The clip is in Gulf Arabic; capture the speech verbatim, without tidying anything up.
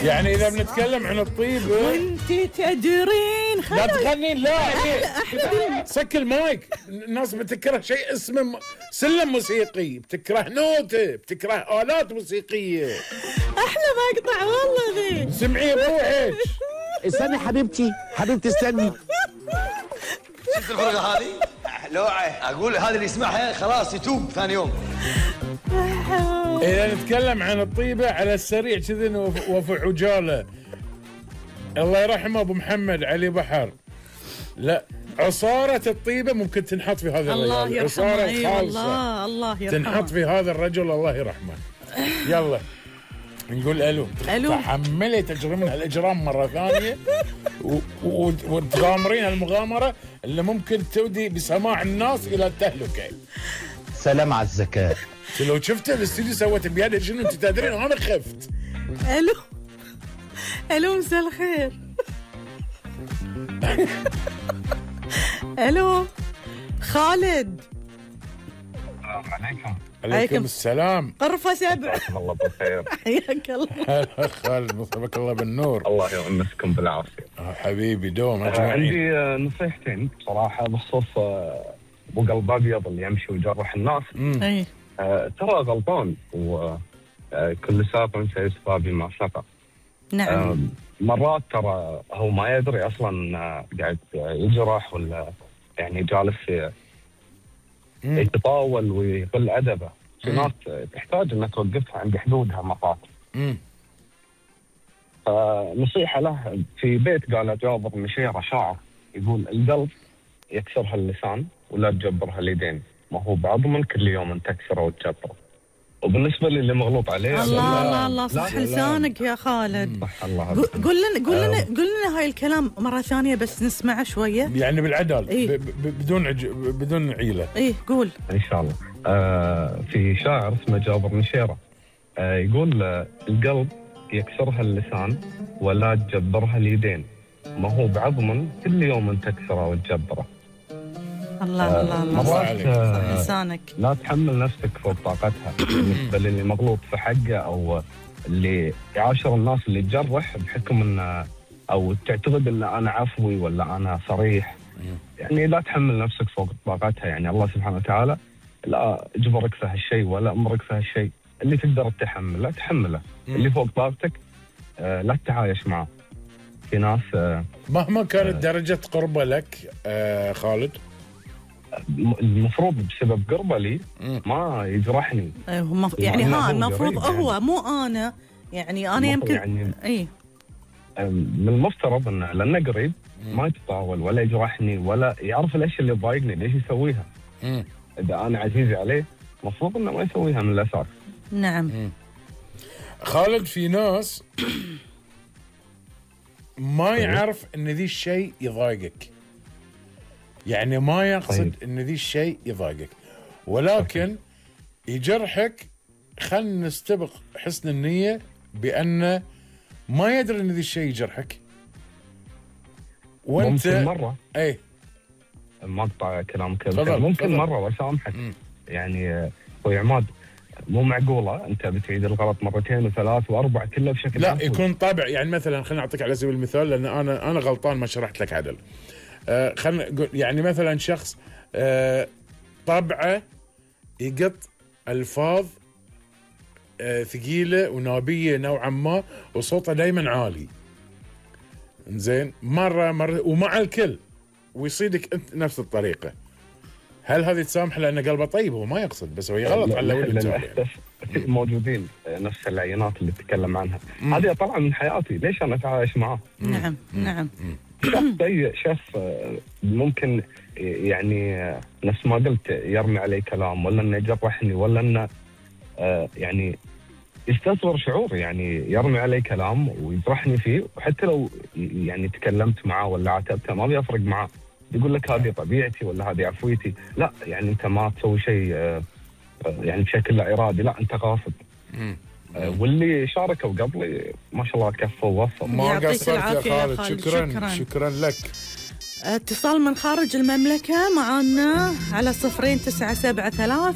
يعني إذا بنتكلم عن الطيب وانت تدرين لا تغنين لا أحلى أحلى سك المايك. الناس بتكره شيء اسمه م... سلم موسيقي، بتكره نوتة، بتكره آلات موسيقية. أحلى مقطع والله ذي. سمعي بروحك. استني حبيبتي حبيبتي استني. شفت الفرقة هذه؟ لوعة أقول هذا اللي يسمعها خلاص يتوب ثاني يوم. إذا نتكلم عن الطيبة على السريع كذي وفي عجالة، الله يرحمه أبو محمد علي بحر. لا عصارة الطيبة ممكن تنحط في هذا الله الرجل، يرحمه. عصارة أي خالصة والله الله يرحمه تنحط في هذا الرجل الله يرحمه. يلا نقول ألو. ألو. تحملي تجرمين الإجرام مرة ثانية وتغامرين المغامرة اللي ممكن تودي بسماع الناس إلى التهلكة. سلام على الذكاء. لو شفت الاستوديو سويت بيدك شنو انت تدرين انا خفت. الو الو مساء الخير. الو خالد. السلام عليكم. عليكم السلام. غرفة سبع. الله بالخير. حياك الله. هلا خالد مسبك الله بالنور. الله يمسكم بالعافية. آه حبيبي دوم آه اجمعين. عندي آه نصيحتين بصراحة بخصوص آه ابو قلب ابيض اللي يمشي ويجرح الناس. اي آه ترى غلطان وكل ساق سيسقى بما سقى. نعم. آه مرات ترى هو ما يدري اصلا آه قاعد يجرح ولا يعني جالس يتطاول ويقل ادبه. في ناس تحتاج انك توقفها عند حدودها مرات. امم فنصيحه له في بيت قال جابر مشيره شاعر يقول القلب يكسرها اللسان ولا تجبرها اليدين، ما هو بعظم كل يوم تكسره وتجبره. وبالنسبه للي مغلوط عليه الله الله الله صح لسانك يا خالد. صح الله. قول لنا قول لنا قول لنا هاي الكلام مره ثانيه بس نسمعه شويه. يعني بالعدل. إيه؟ ب- ب- بدون عج... بدون عيله. ايه قول. ان شاء الله. آه في شاعر اسمه جابر مشيره آه يقول آه القلب يكسرها اللسان ولا تجبرها اليدين، ما هو بعظم كل يوم تكسره وتجبره. الله الله الله مرات صح آه لسانك. لا تحمل نفسك فوق طاقتها بالنسبه للي مغلوط في حقه او اللي يعاشر الناس اللي تجرح بحكم انه او تعتقد ان انا عفوي ولا انا صريح. يعني لا تحمل نفسك فوق طاقتها. يعني الله سبحانه وتعالى لا اجبرك في هالشيء ولا امرك في هالشيء. اللي تقدر تحمله تحمله. اللي فوق طاقتك آه لا تتعايش معه. في ناس آه مهما كانت درجه قربه لك آه خالد المفروض بسبب قربه لي ما يجرحني. أيوه يعني ها المفروض يعني. هو مو انا يعني انا يمكن يعني اي من المفترض انه لانه قريب ما يتطاول ولا يجرحني ولا يعرف الاشياء اللي تضايقني ليش يسويها. مم. اذا انا عزيزي عليه المفروض انه ما يسويها من الاساس. نعم. مم. خالد في ناس ما يعرف ان ذي الشيء يضايقك، يعني ما يقصد طيب. ان ذي الشيء يضايقك ولكن يجرحك. خلنا نستبق حسن النية بأن ما يدري ان ذي الشيء يجرحك وانت ممكن مرة اي ما اقطع كلامك تفضل ممكن تفضل. مرة واسامحك. يعني اخوي عماد مو معقولة انت بتعيد الغلط مرتين وثلاث واربع كله بشكل لا عفوي. يكون طابع. يعني مثلا خليني اعطيك على سبيل المثال لان انا انا غلطان ما شرحت لك عدل. آه خلينا نقول يعني مثلا شخص آه طبعه يقط الفاظ آه ثقيله ونابيه نوعا ما وصوته دائما عالي. زين مره مره ومع الكل ويصيدك انت نفس الطريقه. هل هذه تسامح لانه قلبه طيب؟ هو ما يقصد بس هو يغلط على ولد للاسف موجودين نفس العينات اللي تتكلم عنها. هذه طبعا من حياتي ليش انا اتعايش معاه؟ نعم نعم. شخص شخص ممكن يعني نفس ما قلت يرمي علي كلام ولا انه يجرحني ولا انه يعني يستصغر شعور. يعني يرمي علي كلام ويجرحني فيه وحتى لو يعني تكلمت معه ولا عاتبته ما بيفرق معه. يقول لك هذه طبيعتي ولا هذه عفويتي. لا يعني انت ما تسوي شيء يعني بشكل لا ارادي، لا انت قاصد. واللي شاركوا قبلي ما شاء الله كفوا ووصلوا. ما قصرت يا العافية يا خالد. خالد. شكرا شكراً. شكرا لك. اتصال من خارج المملكة معنا على صفرين تسعة سبعة ثلاث